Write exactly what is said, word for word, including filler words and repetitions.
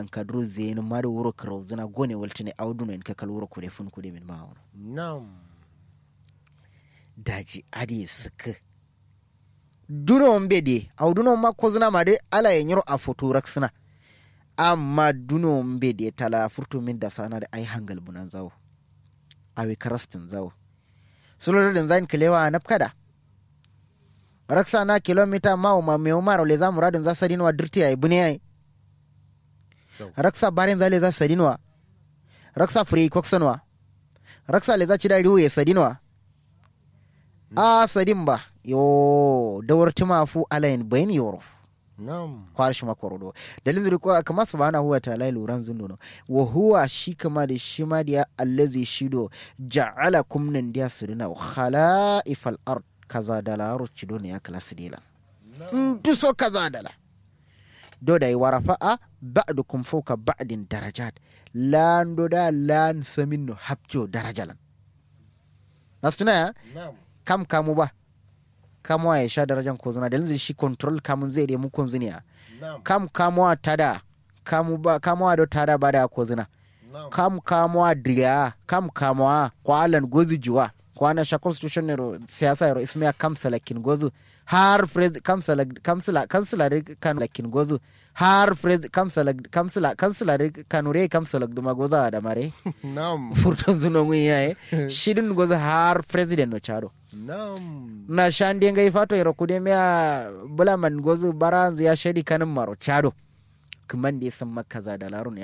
Ankaduro zeyinǝ ma dǝ wuro kǝrauzǝna gone waltǝne awo dunoyen kakal wuro kure fun kude min ma awono. Daji adǝ ye sǝkkǝ. Duno mbe diye awo duno ma kozǝna ma dǝ alaye nyiro afotu raksǝna. Amma duno mbe diye tala furtu min dasana dǝ ai hangal bunanza wo. Awi karastǝnza wo. Sulo dǝ dǝnzayin kǝlewa a nabkada. Raksa na kilomita mawu ma mewu maro leza muradǝnza sadinwa dǝrti yayi bune yayi. Raksa barenza leza sadinwa. Raksa fǝre yi koksanwa. Raksa leza cida riwu ye sadinwa. A sadin ba yo dawar tǝma fu alayin bayin yoro. Kwar shima koro do. Dalil zuri ko kama subhanahu wa ta'ala luran zunduno. Wa huwa shi kama da shima diya allazi shi do. Ja'alakum nan diya suduna khala'ifal ard. Kaza dala aro cido ne ya kala sidilan. Nduso kaza dala. Do da yi warafa a ba'dukum fawqa ba'din darajat. Lan do da lan samin no hapjo darajalan. Nastuna ya. Kam kamu ba. Kamuwa ye sha darajan kozǝna dalil zǝ shi control kamun zai dai mu konzǝniya. Kam kamuwa tada. Kamu ba kamuwa do tada ba da kozǝna. Kam kamuwa diriya kam kamuwa kwa lan gozu juwa. Kwa na sha constitution ne ro siyasa ro ismiya kam salakin gozu. Har prez kam salak kam sala kam sala de kan lakin gozu. Har prez kam salak kam sala kam sala de kanure kam salak duma goza da mare. Furton zuno ngun yaye. Shidin gozu har president no chado. Na shande ngai fato yero kude miya bulaman gozu baranzu ya shadi kanin maro chado. Kǝmande sǝmma kaza da laro ne.